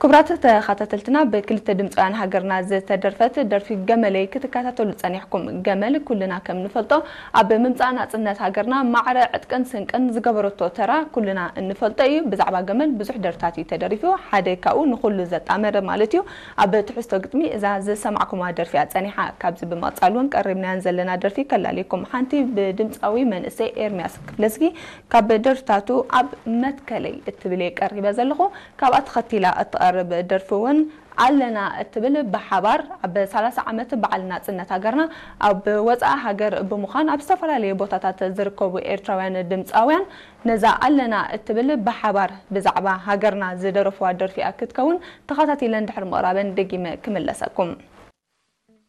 ክቡራት ተኸታተልትና፣ ብክልተ ድምፃውያን ሃገርና ዝተደርፈት ደርፊ ገመለይ ክትከታተሉ ጸኒሕኩም። ገመል ኩልና ከም ንፈልጦ ኣብ ምምጻእ ናጽነት ሃገርና ማዕረ ዕጥቅን ስንቅን ዝገበረቶ ተራ ኩልና እንፈልጦ እዩ። ብዛዕባ ገመል ብዙሕ ደርፍታት እዩ ተደሪፉ። ሓደ ካብኡ ንኹሉ ዘጣመረ ማለት እዩ። ኣብ ትሕዝቶ ግጥሚ እዛ ዝሰማዕኩማ ደርፊ እያ ጸኒሓ። ካብዚ ብምቕጻል እውን ቀሪብናያን ዘለና ደርፊ ከላልየኩም። ሓንቲ ብድምፃዊ መንእሰይ ኤርሚያስ ክፍለዝጊ ካብ ደርፍታቱ ኣብ መትከለይ እትብል እየ ቀሪበ ዘለኹ። ካብኣ ተኸቲላ እትቐርብ ደርፊ እውን ኣለና እትብል ብሓባር ኣብ ሰላሳ ዓመት በዓል ናጽነት ሃገርና ኣብ ወጻኢ ሃገር ብምዃን ኣብ ዝተፈላለዩ ቦታታት ዝርከቡ ኤርትራውያን ድምጻውያን ነዛ ኣለና እትብል ብሓባር ብዛዕባ ሃገርና ዝደረፍዋ ደርፊ እያ ክትከውን። ተኸታቲለን ድሕሪ ምቕራበን ደጊመ ክምለሰኩም።